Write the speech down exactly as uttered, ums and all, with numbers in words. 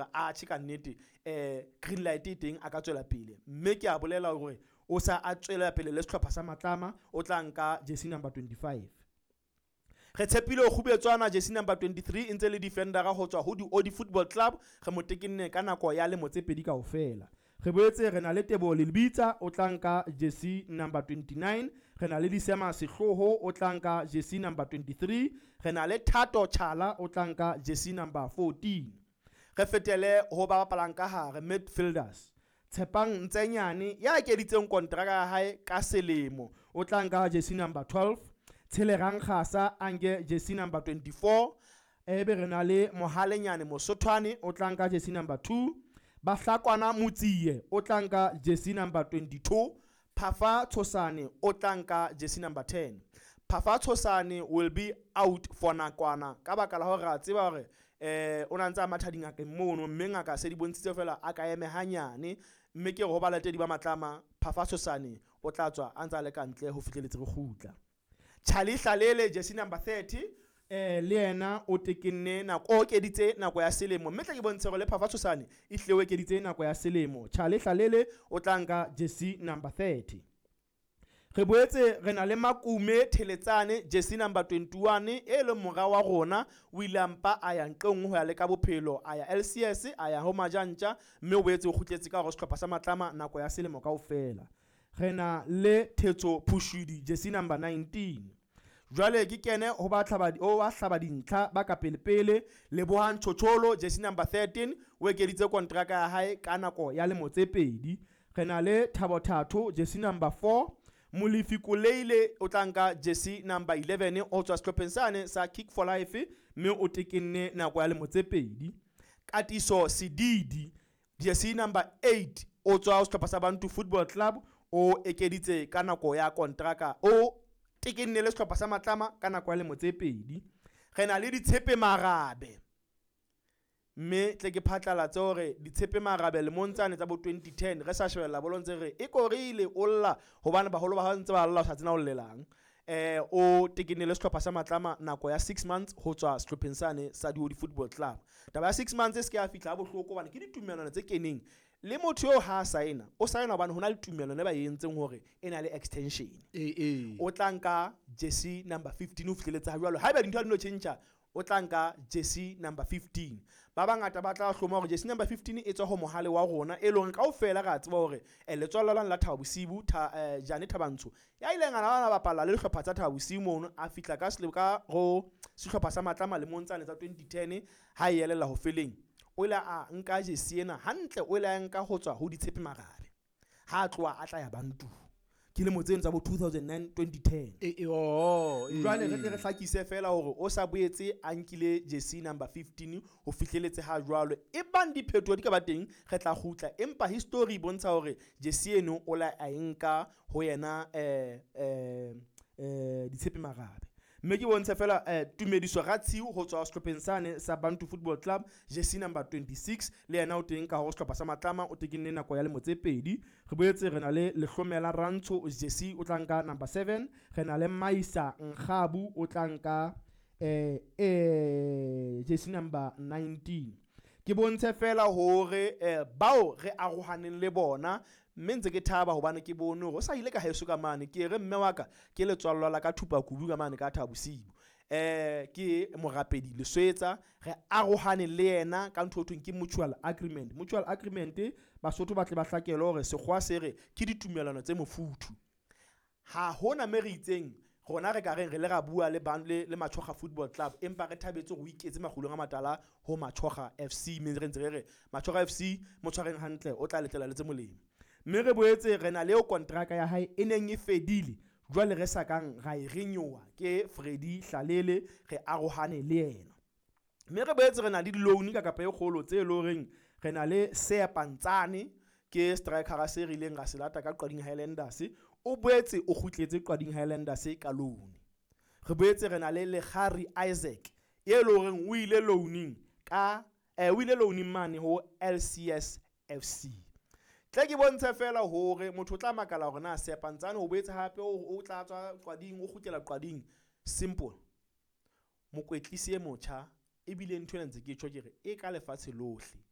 hore atjhe ka nnete um green light e teng a ka tswela pele. Mme ke a bolela hore o sa a tswela pele le sehlopha sa Matlama, o tla nka jersey number twenty-five. Re tshepile ho Kgubetswana jersey number twenty-three e ntse le defendera ho tswa ho di-Odi Football Club, re mo tekenne ka nako ya lemo tse pedi kaofela. Re boetse re na le Teboho Lebitsa, o tla nka jersey number twenty-nine. Re na le Disema Sehloho, o tla nka jersey number twenty-three. Re na le Thato Chala, o tla nka jersey number fourteen. Re fetele ho ba bapalang ka hare, midfielders. Tshepang Ntsenyane ya ekeditseng kontraka ya hae ka selemo, o tla nka jersey number twelve. Tshelegang Kgasa a nke jersey number twenty-four. Ebe re na le Mohalenyane Mosothwane, o tla nka jersey number two. Bahlakwana Motsie o tla nka jersey number twenty-two. Phafa Tshosane o tla nka jersey number ten. Phafa Tshosane will be out for nakwana ka baka la hore re a tseba hore eh o na ntse a matha dingakeng mono, mme ngaka se di bontshitse fela a ka eme hanyane, mme ke re ho balatedi ba Matlama, Phafa Tshosane o tla tswa a ntse a le ka ntle ho fihleletse re kgutla. Charlie Hlalele jersey number thirty, eh le yena o tekenne nako, o okeditse nako ya selemo, mme tla ke bontshe hore le Phafa Tshosane e hlile o ekeditse nako ya selemo. Charlie Hlalele o tla nka jersey number thirty. Re boetse re na le Makume Theletsane jersey number twenty-one, e leng mora wa rona, o ile a mpa a ya nqe nngwe ho ya leka bophelo, a ya L C S, a ya ho Majantja, mme o boetse o kgutletse ka hore sehlopha sa Matlama nako ya selemo kaofela. Re na le Thetso Phushudi jersey number nineteen. Jwale ke kene ho ba hlaba, o ba hlaba dintlha ba ka pele pele. Lebohang Chocholo jersey number thirteen, o ekeditse kontraka ya hae ka nako ya lemo tse pedi. Re na le Thabo Thato jersey number four. Molefi Koleile o tla nka jersey number eleven, o tswa sehlopheng sane sa Kick for Life, mme o tekenne nako ya lemo tse pedi. Katiso Sedidi jersey number eight, o tswa sehlopha sa Bantu Football Club, o ekeditse ka nako ya kontraka, o tekenne le sehlopha sa Matlama ka nako ya lemo tse pedi. Re na le Ditshepe Marabe, mme tle ke phatlalatse hore Ditshepe Marabe lemong tsane tsa bo twenty ten re sa shebella bolo ntse re e korile o lla hobane baholo ba hao ntse ba lla o sa tsena o llelang. Eh o tekenne le sehlopha sa Matlama nako ya six months ho tswa sehlopheng sane sa Diodi Football Club. Taba ya six months e se ke ya fihla ha bohloko hobane ke ditumellano tse keneng le motho eo ha a saena, o saena hobane ho na le tumellano e ba e entseng hore e na le extension. Eh, eh. O tla nka jersey number fifteen ho fihleletse ha jwalo. Haeba dintho ha di no tjhentjha, o tla nka jersey number fifteen. Ba bangata ba tla hloma hore jersey number fifteen e tswa ho mohale wa rona, e leng kaofela re a tseba hore, eh, letswalo la Thabo Bosiu, tha, eh, Jane Thabantsho, ya ileng a na bapala le dihlopha tsa Thabo Bosiu mono, a fihla ka sele-, ka ho sehlopha sa Matlama lemong tsane tsa twenty ten, ha e elella ho feleng. O ile a nka jersey ena hantle, o ile a nka ho tswa ho Ditshepe Marabe. Ha a tloha a tla ya Bantu. Ke lemo tseno tsa bo two thousand nine, twenty ten. E, e, oh, e, Jwale re e. tle re hlakise fela hore o sa boetse a nkile jersey number fifteen ho fihleletse ha jwalo. Ebang diphetoho di ka ba teng, re tla kgutla, empa history e bontsha hore jersey eno o la a e nka ho yena, eh, eh, eh, Ditshepe Marabe. Mme ke bontshe fela, eh, Tumediso Ratshiu ho tswa sehlopheng sane sa Bantu Football Club, jersey number twenty-six, le yena o teng ka hore sehlopha sa Matlama, o tekenne nako ya lemo tse pedi. Re boetse re na le Lehlomela Rantsho jersey, o tla nka number seven. Re na le Maisa Nkgabu, o tla nka, eh, eh, jersey number nineteen. Ke bontshe fela hore, eh, bao re arohaneng le bona, mme ntse ke thaba hobane ke bone hore o sa ile ka heso ka mane, ke re mme wa ka ke letswallo la ka thupa kubu ka mane ka Thabo Bosiu. Eh, ke morapedi Leswetsa, re arohane le yena ka ntho e thweng ke mutual agreement. Mutual agreement, Basotho ba tle ba hlakele hore sekgowa se re ke ditumellano tse mofuthu. Ha hona me re itseng rona re ka reng re le ra bua le bang le, le Machoga Football Club, empa re thabetse hore o iketse makgulong a matala ho Machoga F C, mme re ntse re re Machoga F C mo tshwareng hantle, o tla letlela le tse molemo. Mme re boetse re na le eo kontraka ya hae e neng e fedile, jwale re sa kang ra e renewa ke Freddy Hlalele, re arohane le yena. Mme re boetse re na le di-loan ka kapa e kgolo tse leng horeng re na le Seapantsane, ke striker se re ileng ra se lata ka Qading Highlanders, o boetse o kgutletse Qading Highlanders ka loan. Re boetse re na le Lekgari Isaac, e leng horeng o ile loaning ka, eh, o ile loaning mane ho L C S F C. Tle ke bontshe fela hore motho o tla makala hore na Seapantsane o boetse hape o, o tla tswa Qading, o kgutlela Qading. Simple. Mokwetlisi e motjha, ebile ntho ena ntse ke tjho ke re e ka lefatshe lohle.